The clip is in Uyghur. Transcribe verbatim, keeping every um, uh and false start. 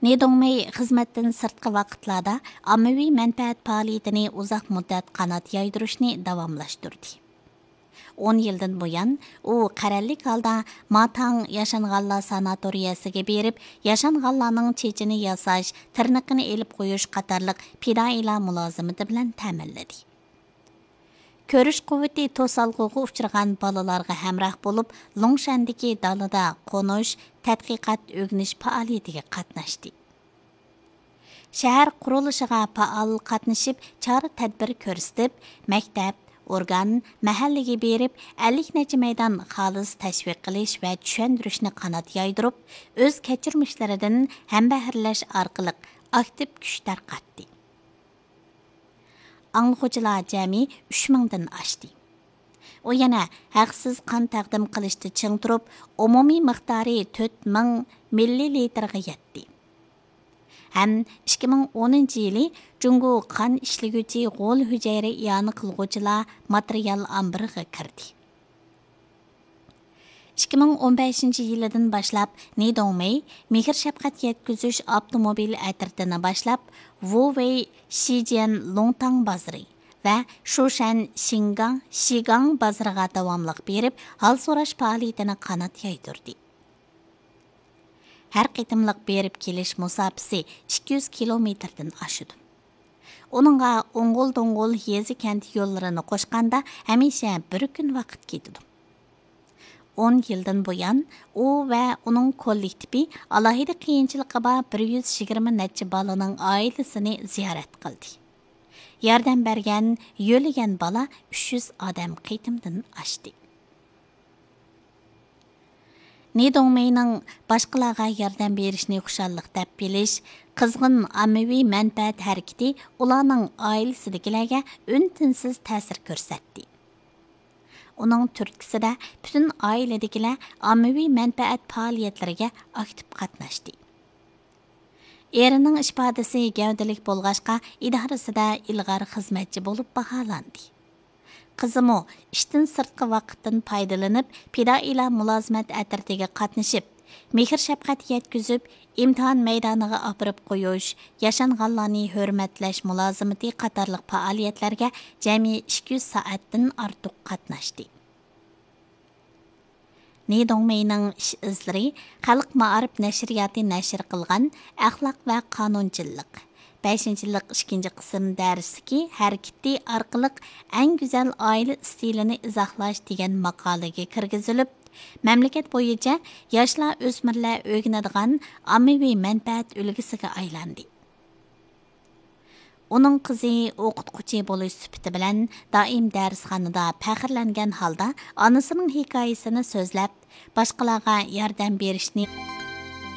نى دۇڭمېي خىزمەتتىن سىرتقى ۋاقىتلاردا ئاممىۋى مەنپەئەت پائالىيىتىنى ئۇزاق مۇددەت قانات يايدۇرۇشنى داۋاملاشتۇردى. ئون يىلدىن بۇيان، ئۇ قەرەللىك ھالدا ماتاڭ ياشانغانلار ساناتورىيەسىگە بېرىپ، ياشانغانلارنىڭ چېچىنى ياساش، تىرنىقىنى ئېلىپ قويۇش قاتارلىق پىدائىيلار مۇلازىمىتى بىلەن تەمىنلىدى. كۆرۈش قۇۋۋىتى توسالغۇغا ئۇچرىغان بالىلارغا ھەمراھ بولۇپ، لۇڭشەندىكى دالىدا قونۇش، تەتقىقات، ئۆگىنىش پائالىيىتىگە قاتناشتى. شەھەر قۇرۇلۇشىغا پائال قاتنىشىپ، چارە-تەدبىر كۆرسىتىپ، مەكتەپ، ئورگان، مەھەللىگە بېرىپ، ئەللىك نەچچە مەيدان خالىس تەشۋىق قىلىش ۋە چۈشەندۈرۈشنى قانات يايدۇرۇپ، ئۆز كەچۈرمىشلىرىدىن ھەمبەھىرلەش ئارقىلىق ئاكتىپ كۈچ تارقاتتى. ئاڭلىغۇچىلار جەمئىي ئۈچ مىڭدىن ئاشتى. ئۇ يەنە ھەقسىز قان تەقدىم قىلىشتا چىڭ تۇرۇپ، ئومۇمىي مىقدارى تۆت مىڭ مىللىلىتىرغا يەتتى. ھەم ئىككى مىڭ ئونىنچى يىلى جۇڭگو قان ئىشلىگۈچى غول ھۈجەيرە ئىئانە قىلغۇچىلار ماتېرىيال ئامبىرىغا كىردى. ئىككى مىڭ ئون بەشىنچى يىلىدىن باشلاپ نى دۇڭمېي مېھىر شەپقەت يەتكۈزۈش ئاپتوموبىل ئەترىتىنى باشلاپ، ۋۇۋېي شىجيەن لۇڭتاڭ بازىرى ۋە شۇشەن شىنگاڭ شىگاڭ بازىرىغا داۋاملىق بېرىپ، ھال سوراش پائالىيىتىنى قانات يايدۇردى. ھەر قېتىملىق بېرىپ كېلىش مۇساپىسى ئىككى يۈز كىلومېتىردىن ئاشىدۇ. ئۇنىڭغا ئوڭغۇل دوڭغۇل يېزا كەنت يوللىرىنى قوشقاندا ھەمىشە بىر كۈن ۋاقىت كېتىدۇ. ئون يىلدىن بۇيان، ئۇ ۋە ئۇنىڭ كوللېكتىپى ئالاھىدە قىيىنچىلىقى بار بىر يۈز يىگىرمە نەچچە بالىنىڭ ئائىلىسىنى زىيارەت قىلدى. ياردەم بەرگەن، يۆلىگەن بالا ئۈچ يۈز ئادەم قېتىمدىن ئاشتى. نى دۇڭمېينىڭ باشقىلارغا ياردەم بېرىشنى خۇشاللىق دەپ بىلىش، قىزغىن ئاممىۋى مەنپەئەت ھەرىكىتى ئۇلارنىڭ ئائىلىسىدىكىلەرگە ئۈن-تىنسىز تەسىر كۆرسەتتى. ئۇنىڭ تۈرتكىسىدە پۈتۈن ئائىلىدىكىلەر ئاممىۋى مەنپەئەت پائالىيەتلىرىگە ئاكتىپ قاتناشتى. ئېرىنىڭ ئىپادىسى گەۋدىلىك بولغاچقا، ئىدارىسىدە ئىلغار خىزمەتچى بولۇپ باھالاندى. قىزىمۇ ئىشتىن سىرتقى ۋاقىتتىن پايدىلىنىپ، پىدائىيلار مۇلازىمەت ئەترىتىگە قاتنىشىپ، مېھىر-شەپقەت يەتكۈزۈپ، ئىمتىھان مەيدانىغا ئاپىرىپ قويۇش، ياشانغانلارنى ھۆرمەتلەش مۇلازىمىتى قاتارلىق پائالىيەتلەرگە جەمئىي ئىككى يۈز سائەتتىن ئارتۇق قاتناشتى. نى دۇڭمېينىڭ ئىش ئىزلىرى خەلق مائارىپ نەشرىياتى نەشر قىلغان ئەخلاق ۋە قانۇنچىللىق، بەشىنچى يىللىق ئىككىنچى قىسىم دەرستىكى ھەرىكىتى ئارقىلىق ئەڭ گۈزەل ئائىلە ئىستىلىنى ئىزاھلاش دېگەن ماقالىگە كىرگۈزۈلۈپ، مەملىكەت بويىچە ياشلار، ئۆسمۈرلەر ئۆگىنىدىغان ئاممىۋى مەنپەئەت ئۈلگىسىگە ئايلاندى. ئۇنىڭ قىزى ئوقۇتقۇچى بولۇش سۈپىتى بىلەن دائىم دەرسخانىدا پەخىرلەنگەن ھالدا ئانىسىنىڭ ھېكايىسىنى سۆزلەپ، باشقىلارغا ياردەم بېرىشنى